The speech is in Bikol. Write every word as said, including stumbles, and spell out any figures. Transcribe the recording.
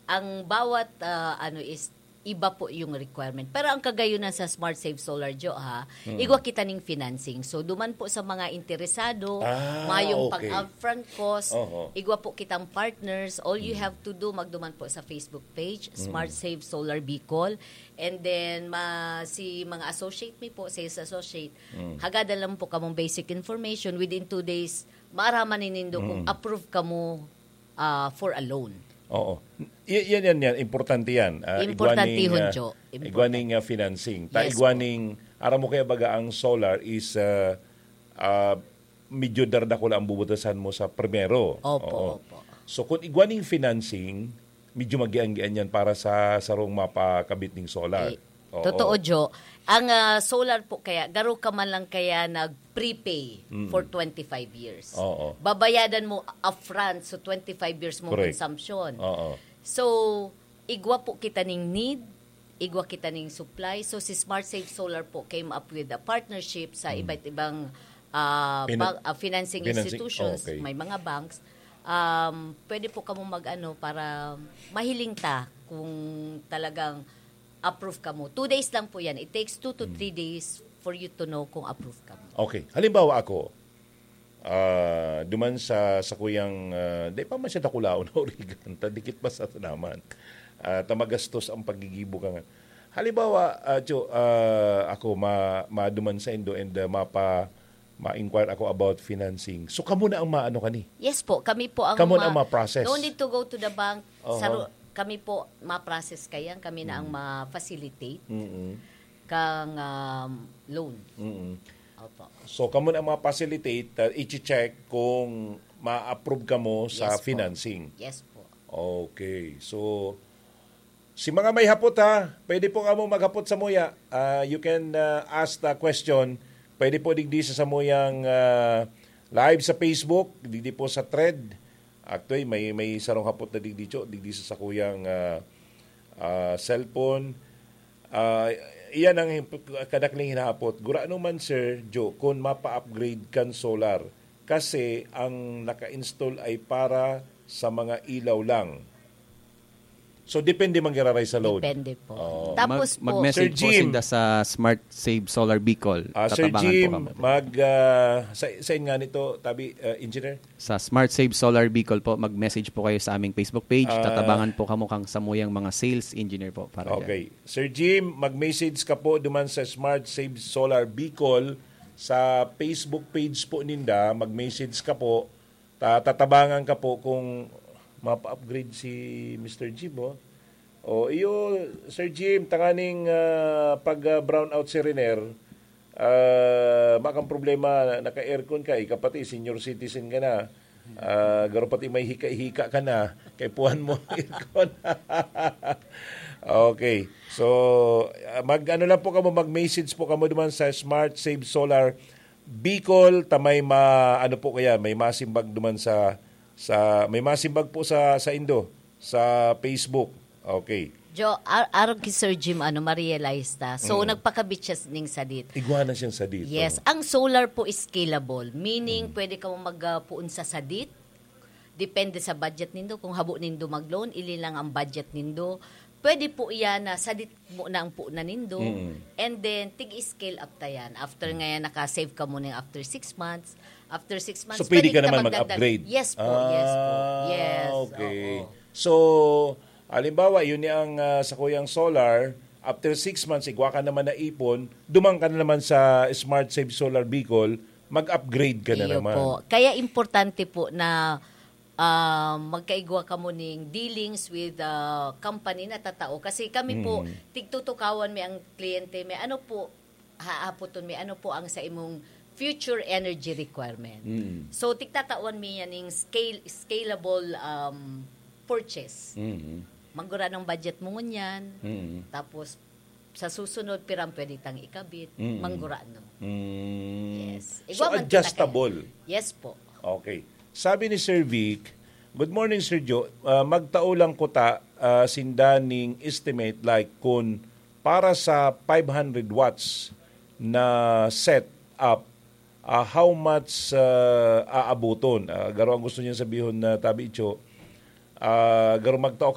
ang bawat, ah, ano is iba po yung requirement. Pero ang kagayunan sa Smart Save Solar, Jo, ha, igwa kita ning financing. So, duman po sa mga interesado, Ah, mayong okay. pag-upfront cost, Oho. igwa po kitang partners. All you have to do, magduman po sa Facebook page, Smart Save Solar Bicol. And then, ma, si mga associate mi po, sales associate, hagadan lang po kamong basic information. Within two days, maaraman nindo kung approve kamo ah, for a loan. Oo. Y- yan, yan, yan. Importante yan. Ah, Importantehon, igwaning, ah, Jo. Important. Igwaning ah, financing. Ta Yes, igwaning, aram mo kaya baga ang solar is ah, ah, medyo dardakula ang bubutasan mo sa primero. Opo, Oo. Opo. So kung igwaning financing, medyo magian-gian yan para sa sarong mapakabit ning solar. Eh, Oo. Totoo, Jo. Ang ah, solar po kaya, garo ka man lang kaya nag-prepay for twenty-five years. Oo. Babayadan mo upfront, so twenty-five years mong Correct. Consumption. Oo. So, igwa po kita ning need, igwa kita ning supply. So, si Smart Save Solar po came up with a partnership sa iba't ibang ah, Pina- bank, ah, financing, Financing, institutions, okay. May mga banks. Um, pwede po kamo mag-ano para mahiling ta kung talagang approve kamo. Two days lang po yan. It takes two to three days for you to know kung approve kamo. Okay. Halimbawa ako, ah, duman sa, sa kuyang, ah, di pa man siya dakulaon na origan, ta dikit pa sa naman. Ah, ta magastos ang paggigibo ka nga. Halimbawa, ah, Cho, ah, ako, ma, maduman sa indo and ah, mapa, ma-inquire ako about financing. So, kamo na ang maano kani? Yes po, kami po ang Kamo ma- na ang ma-process. No need to go to the bank. Oho. Saro, kami po ma-process kayan, kami na ang ma-facilitate Mm-mm. kang um, loan. Mm-mm. Opo. So, kamo na ang ma-facilitate, uh, i-check kung ma-approve kamo sa Yes po. financing. Yes po. Okay. So, si mga may hapot ha, pwede po kamo maghapot sa muya. Ah, you can ah, ask the question. Pwede po digdi sa samuyang ah, live sa Facebook, digdi po sa thread. Actually, may may sarong hapot na digdi, Cho, digdi sa sakuyang ah, ah, cellphone. Ah, iyan ang hip- kadakling hinahapot. Gurano man, Sir Joe, kung mapa-upgrade kan solar, kasi ang naka-install ay para sa mga ilaw lang. So, depende man giraray sa load. Depende po. Oo. Tapos Mag- po, mag-message Sir po Jim. sinda sa Smart Save Solar Bicol. Ah, Sir Tatabangan Jim, po kami. mag, ah, sa, sa nga nito, tabi, ah, engineer? Sa Smart Save Solar Bicol po, mag-message po kayo sa aming Facebook page. Ah. Tatabangan po kamo kang samuyang mga sales engineer po. Para dyan. Okay. Sir Jim, mag-message ka po duman sa Smart Save Solar Bicol sa Facebook page po ninda. Mag-message ka po. Ta- tatabangan ka po kung mapa-upgrade si Mister Jim, oh. O, iyo, Sir Jim, tanganing ah, pag ah, brownout si Riner, ah, makang problema, naka-aircon ka, ika pati, senior citizen ka na. Ah, garo pati may hika-hika ka na, kay puhan mo ang aircon. Okay. So, ah, mag-ano lang po kamo, mag-message po kamo duman sa Smart Save Solar Bicol, ta may ma, ano po kaya, may masimbag duman sa, sa, may masimbag po sa, sa indo, sa Facebook. Okay. Jo, ar- arog ki Sir Jim, ano, ma-realize ta. So, Mm. nagpakabit siya ning sadit. Igwa na siyang sadit, Yes. oh. Ang solar po is scalable. Meaning, Mm. pwede ka mag-puon sa sadit. Depende sa budget nindo. Kung habo nindo mag-loan, ili lang ang budget nindo. Pwede po yan na sadit mo na ang puunan nindo. Mm. And then, tig-scale up ta yan. After nga yan, naka-save ka muna yung after six months. After six months, So, pwede ka ta naman magdagdag. mag-upgrade? Yes po, yes po. Ah, Yes, okay. Oo. So, halimbawa, yun yung ah, sa kuyang solar, after six months, igwa ka naman na ipon, dumang ka na naman sa Smart Save Solar Bicol, mag-upgrade ka na Iyo naman. Po. Kaya importante po na ah, magkaigwa kamo ning dealings with the company na tatao. Kasi kami po, Mm. tigtutukawan mi ang kliyente mi. Ano po, haapoton mi, ano po ang sa imong future energy requirement? Mm. So, tigtatawan mi yan ning scale, scalable um, purchase. Mm. Manggura ng budget mo ngunyan. Mm. Tapos, sa susunod, pirang pwede tang ikabit. Mm. Manggura, no? Mm. Yes. So, Igwa man adjustable. Yes po. Okay. Sabi ni Sir Vic, "Good morning, Sir Joe. Ah, magtao lang ko ta ah, sinda ning estimate, like kun para sa five hundred watts na set up, ah, how much ah, aabuton?" Ah, garo ang gusto niya sabihon na tabi, Cho. Ah, garo magtao